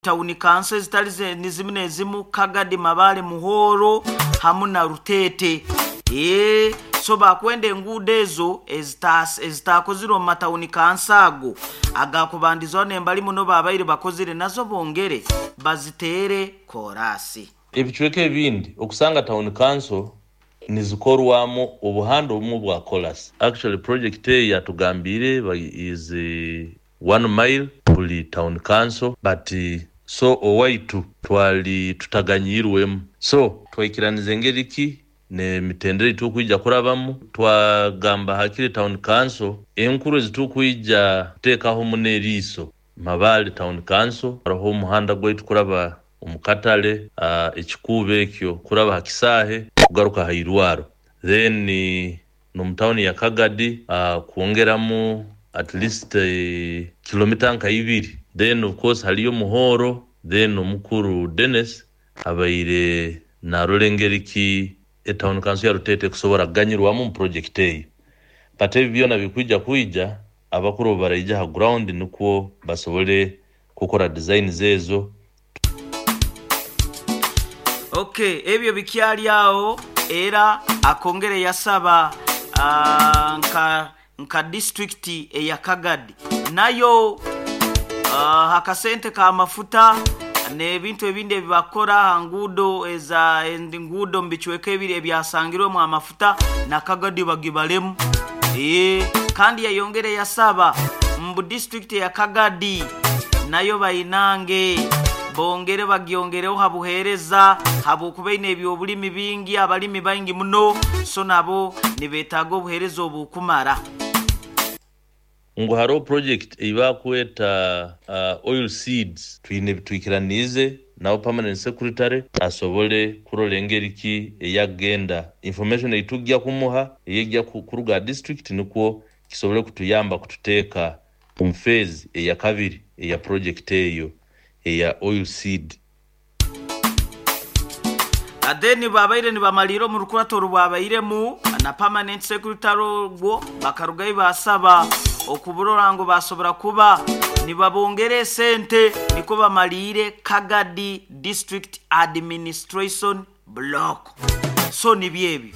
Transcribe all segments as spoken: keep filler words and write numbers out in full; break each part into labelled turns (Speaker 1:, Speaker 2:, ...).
Speaker 1: Town council ezitali ze- nizimu nezimu, Kagadi, Mabale, Muhoro hamu na Rutete. Ee, so bakwenda enguudo ezo ezita- ezitakozirwe omu matown council ago agakubandizwaho nembali muno babaire bakozire, nazo bongere baziteere korasi.
Speaker 2: Ebicweka ebindi okusanga town council nizikorwamu obuhanda obumwe bwa kolas. Actually, project eyo yatugambire ba- is eh, one mile buli town council, but eh, so owaitu twali tutaganyirwemu, so twaikiraniza engeri ki nemitendera etukwija kurabamu. Twagamba hakiri town council enkuru ezitukwija kuteekaho muno eriiso, Mabale Town Council, hariho omuhanda gwaitu kuraba omu katale, uh, ekikuubo ekyo kuraba ha kisaahe kugaruka ha irwaro, then eh, n'omu tawuni ya Kagadi uh, kwongeramu at least uh, kilomita nka ibiri. Then of course haliyo Muhoro. Then omukuru Dennis abaire narora engeri ki etown council ya Rutete kusobora kuganyirwamu mu project eyo, but ebi byona bikwija kwija abakuru baraija ha ground nikwo basobole kukora designs ezo.
Speaker 1: Okay, ebyo bikyali awo. Era akongere yasaba uh, nka nka district eya Kagadi nayo uh, akasente ka mafuta n'ebintu ebindi ebibakora ha nguudo eza enguudo mu bicweka ebiri ebyasangirwemu amafuta, na Kagadi bagibalemu. Ee, kandi yayongere yasaba mbu district ya Kagadi nayo bayinange bongere bagyongereho habuheereza, habwokuba ine ebyobulimi bingi, abalimi baingi muno, so nabo nibetaaga obuheereza obukumara.
Speaker 2: Ngu hariho project eibakweta uh, oil seeds, twine twikiranize nabo permanent secretary asobole kurola engeri ki eyagenda information eitujja kumuha eyejja ku- kuruga district, nikwo kisobole kutuyamba kututeeka omu phase eya kabiri eya project eyo eya oil seed.
Speaker 1: Then babaire nibamalira omu rukurato orubwabairemu na permanent secretary ogwo, bakarugayo basaba okuburora ngu basobora kuba nibabongera esente niko bamaliire Kagadi District Administration Block. So nibyo ebyo,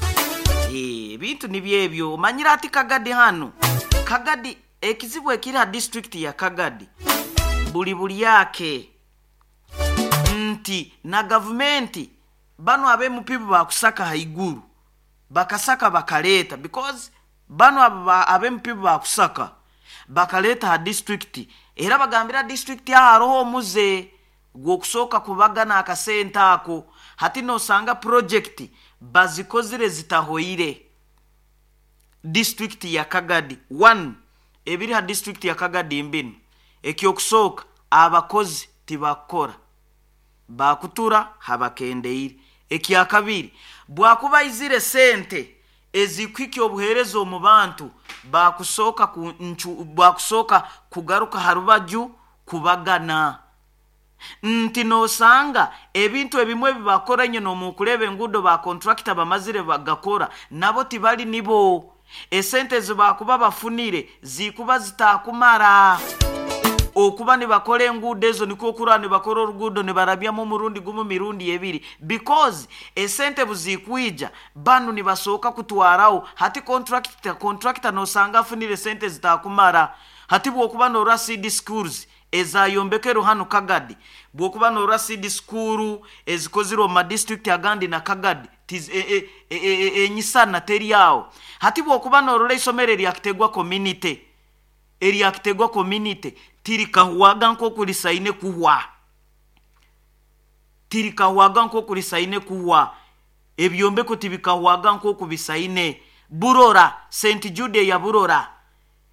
Speaker 1: Eh, ebintu nibyo ebyo. Omanyire ati Kagadi hano, Kagadi ekizibu ekiri ha district ya Kagadi buli bulyake nti na gavumenti bano ab'emupibu bakusaka haiguru, bakasaka bakaleeta, because bano aba- ab'emupibu bakusaka bakaleeta ha district, era bagambira district aho hariho omuze gw'okusooka kubagana akasente ako. Hati nosanga project bazikozire zitahoire. District ya Kagadi one, ebiri ha district ya Kagadi mbinu: ekyokusooka, abakozi tibakora, bakutura habakendeire. Ekyakabiri, bwakuba izire sente ezikuhikya obuheereza omu bantu, bakusooka ku, nchu, bakusooka kugaruka ha rubaju kubagana nti nosanga ebintu ebimwe ebibakora nyine omukureba enguudo ba contractor bamazire bagakora nabo tibali nibo, esente zibakuba bafunire zikuba zitakumara okuba nibakora enguudo ezo, nikwo okuraba nibakora oruguudo nibarabyamu omurundi gumu, mirundi ebiri, because esente buzikwija banu nibasooka kutwaraho. Hati contractor, contractor nosanga afunire sente zitakumara. Hati bwokuba norora seed schools ezayombekerwe hano Kagadi, bwokuba norora seed school ezikozirwe omu madistrict agandi na Kagadi, tiz- e- e- e- e- enyisana teri aho. Hati bwokuba norora isomero eryakitegwa community eryakitegwa community tirikahwaga nk'oku kuhwa, tirikahwaga nk'oku risaine kuhwa, ebyombeko tibikahwaga nk'oku bisaine. Burora Saint Jude ya Burora,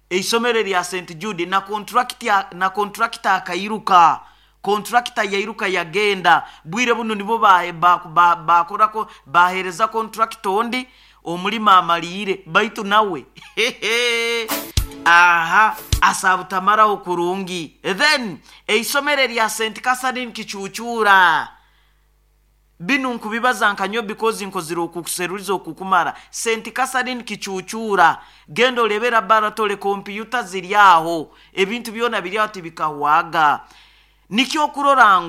Speaker 1: eisomero lya Saint Jude, na contract na contractor akairuka, contractor yairuka yagenda. Bwire buno nibo bakorako ba, ba, ba, bahereza contractor ondi omulimo amaliire, baitu nawe aha asabutamaraho kurungi. Then eisomero lya Saint Catherine Kicucura, binu nkubibaza nkanyo because nkozire okukuseruliza okukumara. Saint Catherine Kicucura, genda olebe laboratory, kompyuta ziri aho, ebintu byona biri aho, tibikahwaga. Nikyo okurora ngu